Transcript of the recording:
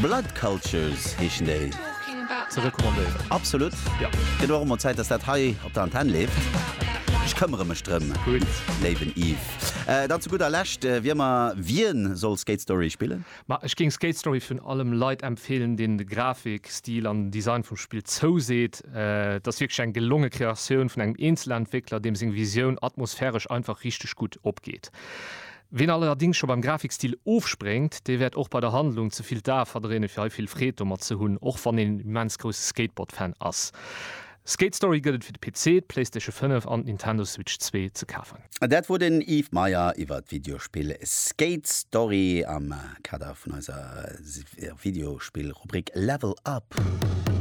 Blood Cultures heeschen déi. Ze recommandéieren. Absolut. Ja. Gëtt och emol Zäit, dass dat hei op der Antenn leeft. Ech këmmere mech drëm, Gutt. léiwen Yves. Dann zu gudder Lescht, wie ëmmer, wien soll Skate Story spillen? Ma ech géing Skate Story virun allem Leit empfeelen, deenen de Grafik, Stil an den Design vum Spill zouseet. Et ass wierklech eng gelonge Kreatioun vun engem Eenzelentwéckler, deem seng Visioun atmosphäresch einfach richteg gutt opgeet. Ween allerdings scho beim Grafikstil ofspréngt, dee wäert och bei der Handlung ze vill d'Ae verdréinen, fir hei vill Freed domat ze hunn, och wann een immens grousse Skateboard-Fan ass. Skate Story gëtt et fir de PC, d'Playstation 5 an d'Nintendo Switch 2 ze kafen. Dat wor den Yves Meyer iwwer d'Videospill Skate Story am Kader vun eiser Videospill-Rubrik Level Up.